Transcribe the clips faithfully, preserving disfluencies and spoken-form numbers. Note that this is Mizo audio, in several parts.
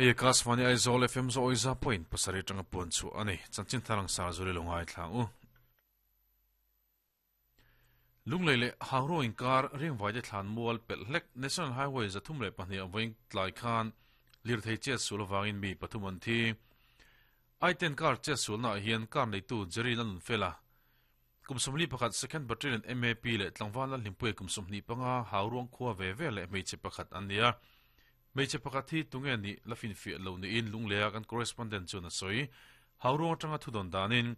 Hei Akashvani Aizawl F M zo oiza point pasarih atanga puan chu ani chanchin tharang sar zuri lo ngai thlang u. Lunglei leh Hangro inkar Riangvai te thlan mual pelh hlek National Highway zathum leh pahnih vawiin tlai khan lirthei chet sul awangin mi pathum an thi. I ten car chet sulna ah hian car neitu Jerry Lalnunfela kum sawmli pakhat second battalion M A P leh tlangval Lalhlimpuia kum sawmhnih panga Hauruang khua ve ve leh hmeichhe pakhat an ni a. Hmeichhe pakhat hi tunge nih la finfiah lo niin Lungleia kan correspondent chuan a sawi. Hauruang atanga thudawn danin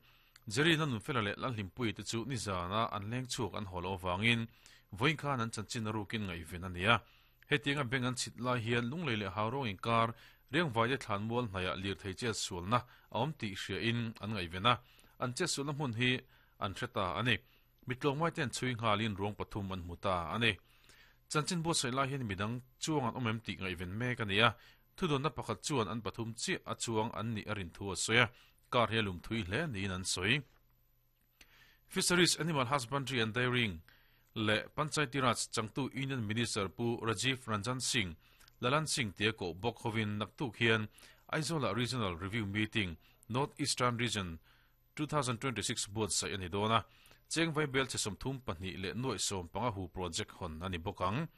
Jerry Lalnunfela leh Lalhlimpuia te chu nizana an leng chhuak an haw loh avangin vawiin khan an chanchin a rukin ngaihven a ni a. Hetianga beng an chhit lai hian Lunglei leh Hauruang inkar Riangvai te thlan mual hnaiah lirthei chet sualna a awm tih hriain an ngaihven a, an chet sualna hmun hi an hre ta a ni. Mitlawngmai te an chhui nghalin ruang pathum an hmu ta a ni. Chanchin buatsaih lai hian midang chuang an awm em tih ngaihven mek a ni a, thudawnna pakhat chuan an pathum chiah a chuang an nih a rin thu a sawi a, car hi a lum thui hle niin an sawi. Fisheries, Animal Husbandry and Dairying leh Panchayati Raj changtu Union Minister Pu Rajiv Ranjan Singh, Lalan Singh tia koh bawk hovin naktuk hian Aizawl-ah Regional Review Meeting, North Eastern Region two thousand twenty six buatsaih a ni dawn a, Chengvai bel che sawmthum pahnih leh nuaih sawm panga hu project hawn a ni bawk ang.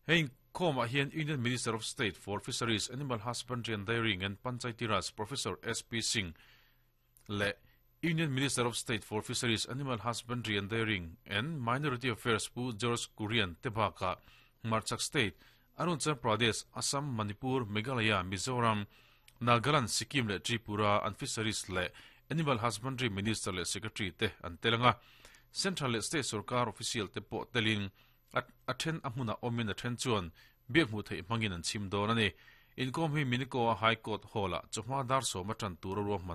Hei inkhawmah hian Union Minister of State for Fisheries, Animal Husbandry and Dairying and Panchayati Raj Professor S P Singh leh Union Minister of State for Fisheries, Animal Husbandry and Dairying and Minority Affairs Pu George Kurian te bakah Hmarchhak State, Arunachal Pradesh, Assam, Manipur, Meghalaya, Mizoram, Nagaland, Sikkim leh Tripura an Fisheries leh Animal Husbandry Minister leh Secretary te an tel ang a. Central leh State sorkar official te pawh telin a then a hmunah awmin a then chuan biak hmuh theih hmangin an chhim dawn a ni. Inkawm hi Minikoa High Court Hall-ah chawhma dar sawm a tan tur a ruahman